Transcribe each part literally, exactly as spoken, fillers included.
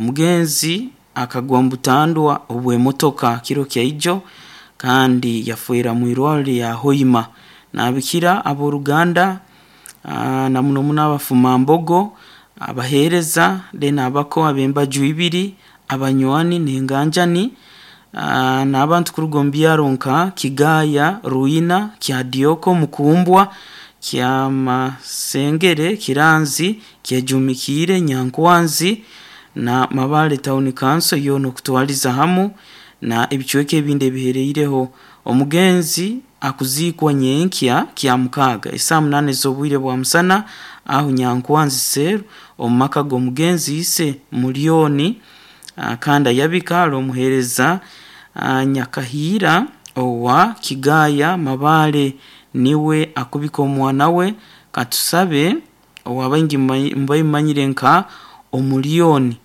Omugenzi akagwa mu butandwa obw'emotoka kiro kyaijo kandi yafeera mu irwarro lya Hoima. Naabikira ab'oruganda ah, na muno muno abafumambogo, abaheereza, then abako ab'embaju ibiri, abanywani n'enganjani, ah, n'abantu kuruga omu byaro nka Kigaya, Ruina, Kyadioko, Mukumbwa, Kyamasengere, Kiranzi, Kyejumikiire, Nyankwanzi na Mabale Town Council yoona okutwaliza hamu na ebicweka ebindi ebihereireho. Omugenzi akuziikwa nyenkya Kyamukaaga esaaha munaana ez'obwire bwa musana aho Nyankwanzi Cell omu maka g'omugenzi ise Mulyoni, ah, kandi ayabika ali omuheereza ah, Nyakahiira owa Kigaya Mabale niwe akubika omwana we. Katusabe owabaingi mubamumanyire nka Omulyoni,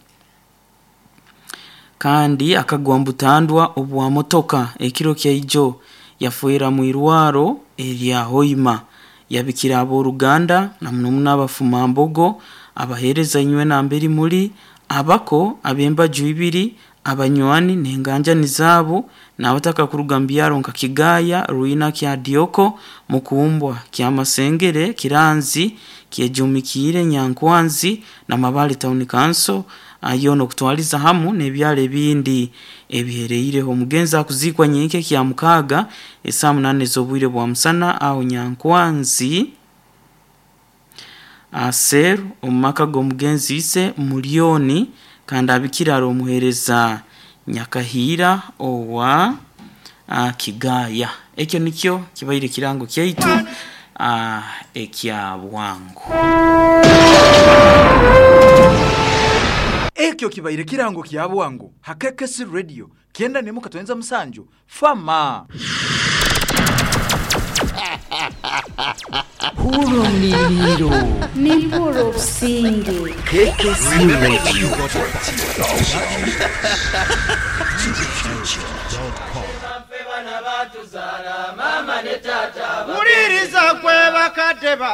kandi akagwa mu butandwa obwa motoka ekiro kyaijo yafeera mu irwarro erya Hoima. Yabikira ab'oruganda na muno muno abafumambogo, abaheereza inywe nambere muri, abako ab'embaju ibiri, abanywani n'enganjani zaabo, n'abataka kuruga mu byaro nka Kigaya, Ruina, Kyadioko, Mukumbwa, Kyamasengere, Kiranzi, Kyejumikiire, Nyankwanzi na Mabale Town Council yoona okutwaliza hamu n'ebyaro ebindi ebihereireho. Omugenzi akuziikwa nyenkya Kyamukaaga esaaha munaana ez'obwire bwa musana aho Nyankwanzi Cell omu maka g'omugenzi ise Mulyoni, kandi abikira ali omuheereza Nyakahiira owa ah, Kigaya. Ekyo nikyo kibaire ekirango kyaitu ah, ekya bwangu. Ekyo kibaire kirango kya bwangu ha K K C Radio kyenda nemu katwenza musanju fama. Hurumiliro. Nimpura obusinge. K K C Radio. Wuliriza gwe bakadde ba